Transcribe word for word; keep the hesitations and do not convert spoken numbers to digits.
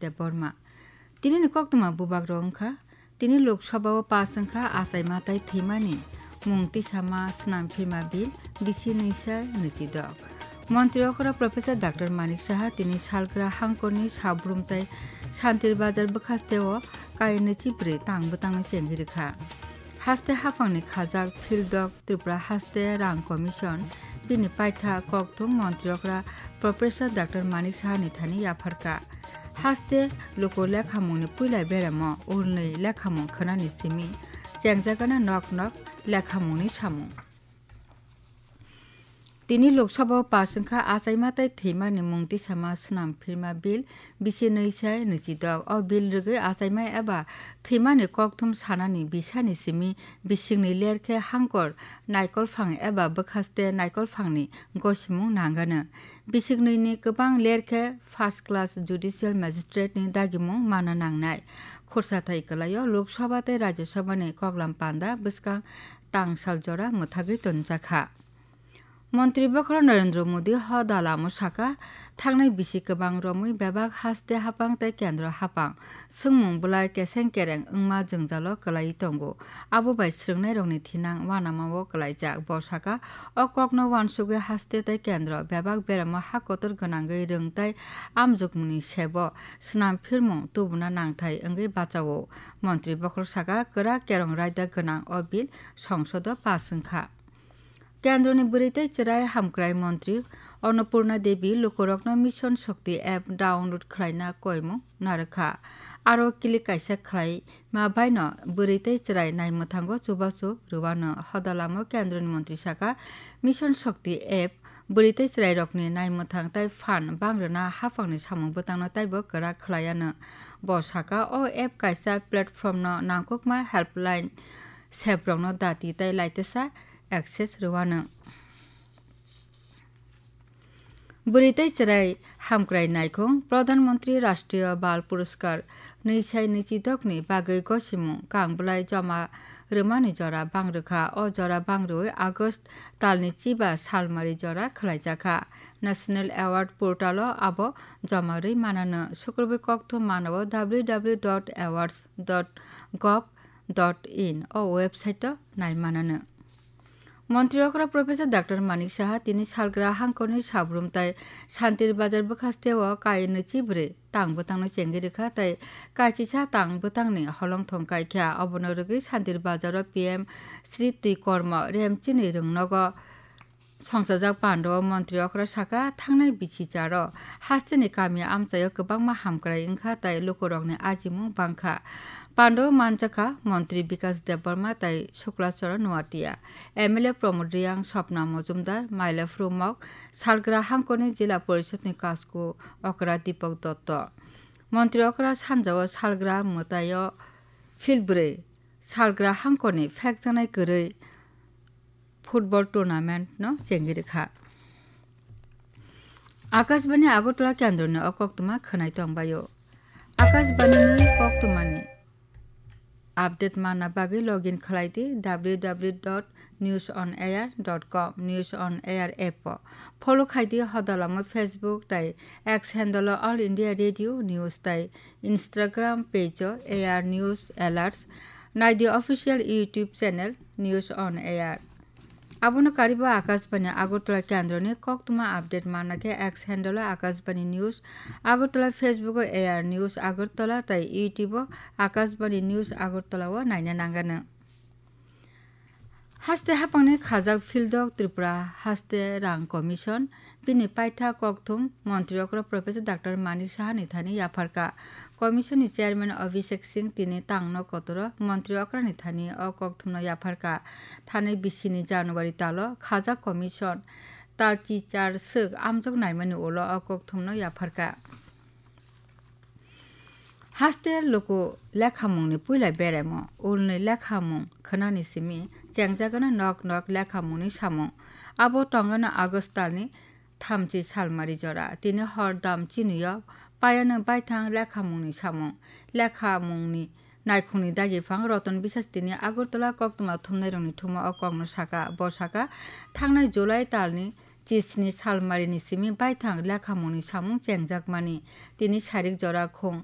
Debbarma. Tinini koktwma bubagrok wngkha, tini Lok Sabha o pass wngkha achaima tei thwimani mung tisama swnam phirma bill bisi nwi sai nwichidok. Montri okra Professor Doctor Manik Saha tini salgra hangkorni sabrumtai Santir Bazar bwkhasteo kai nwichibrwi tang bwtangno chengwi rwkha. Haste haphangni khajak Phildok Tripura Haste Rang Commission bini paitha kokthum montri okra Professor Doctor Manik Sahani thani yapharkha. Haste luku lekhamungni puila beremo ulnwi lekhamung khwnani simi chengjagana nok nok lekhamungni samung. Tini Lok Sabha o pass wngkha achaima tei thwimani mung tisama swnam phirma bill bisi nwi sai nwichidok. O bill rwgwi achaima eba thwimani kokthum sanani bisani simi bisiknwi lerkhe hangkor naikolphang eba bwkhaste naikolphangni gosimung nangano. Bisiknwini kwbang lerkhe first class judicial magistrate ni dagimung mana nangnai. Khursathai kwlaio Lok Sabha tei Rajya Sabha ni koklam panda bwskang tangsal jora mwthagwi tonjakha. Montri bokhorok Narendra Modi hoda lamo saka, thangnai bisi kwbang romwi bebak haste haphang tei kendro haphang swngmung bwlai keseng kereng wngma jwngjalo kwlaiwi tongo. Abo bai swrwngnairokni thinang uanamao kwlaijak. Bo saka, o kokno uansugwi haste tei kendro bebak beramo ha kotor gwnangwi rwng tei amjokmungni sebo swnam phirmung tubuna nangthai wngwi bachao. Montri bokhorok saka, kwrak kerong raida gwnang o bill songsodo pass wngkha. Kendroni bwrwi tei chwrai hamkrai montri Annapurna Devi lukurokno Mission Shakti app download khlaina koimung narwkha. Aro click kaisa khlaima baino bwrwi tei chwrai naimwthango chubachu rwano. Hodalamo kendroni montri saka, Mission Shakti app bwrwi tei chwrairokni naimwthang tei phan bangrwna haphangni samung bwtangno taibo kwrak khlaiano. Bo saka, o app kaisa platformno nangkukma helpline seprokno dati tei laitesa access rwano. Bwrwi tei chwrai hamkrai naikhung Pradhan Mantri Rashtriya Bal Puraskar nwi sai nwichidokni bagwi gosimung kang bwlai joma rwmani jora bangrwkha. O jora bangrwi August talni chiba salmari jora khwlaijakha. National Award portalo abo joma rwi manano. Sukrubwi kokthum manao w w w dot awards dot gov dot in o website-o nai manano. Montri okra Professor Doctor Manik Saha tini salgra hangkorni sabrum tai Santir Bazar bwkhasteo kai nwichi bwrwi tang bwtangno chengwi rwkha tei kaichisa tang bwtangni holongthong kaikha. Obono rwgwi Santir Bazaro P M Sri Twi Kormo Remchini rwngnogo songchajak pandao montri okra saka, thangnai bisi charo hasteni kami amchaio kwbangma hamkrai wngkha tei lukurokni ajimung bangkha. Pandao manjakha montri Bikas Debbarma tei Shukla Charan Noatia, M L A Pramod Reang, Swapna Mojumdar, Maila Phrumok, salgra hangkorni Jila Porishodni kasku okra Dipak Dotto. Montri okra sanjao salgra mwtaio field bwrwi salgra hangkorni phekjaknai kwrwi football tournament no chengwi rwkha. Akashbani Agartala kendroni o koktwma khwnai tongbaio. Akashbani ni koktwmani update manna bagwi login khlai di w w w dot news on air dot com, News on Air app o. Follow khai di hodalamo Facebook tei X handle o All India Radio News tei Instagram page o A R News Alerts. Nai di official YouTube channel News on Air. Abono karibo Akashbani Agartala kendroni koktwma update manna khe X handle o Akashbani News Agartala, Facebook o A R News Agartala tei YouTube o Akashbani News Agartala o naina nangano. Haste hapangni khajak Phildok Tripura Haste Rang Commission bini paitha kokthum montri okra Professor Doctor Manik Saha ni thani yapharkha. Commission ni chairman Abhishek Singh tini tangno kotoro montri okra ni thani o kokthumno yapharkha. Thani bisini January talo khajak commission talchi char swk amjok naimani ulo o kokthumno yapharkha. Haste luku lekhamungni puila beremo ulni lekhamung khwnani simi chengjagano nok nok lekhamungni samung. Abo tongano August talni thamchi salmari jora. Tini hor dam chinio payano baithang lekhamungni samung. Lekhamungni naikhungni dagi phang Roton Biswas tini Agartala koktwma thumnairokni thumo o kokno saka. Bo saka, thangnai July talni chisni salmarini simi baithang lekhamungni samung chengjakmani. Tini sarik jora khung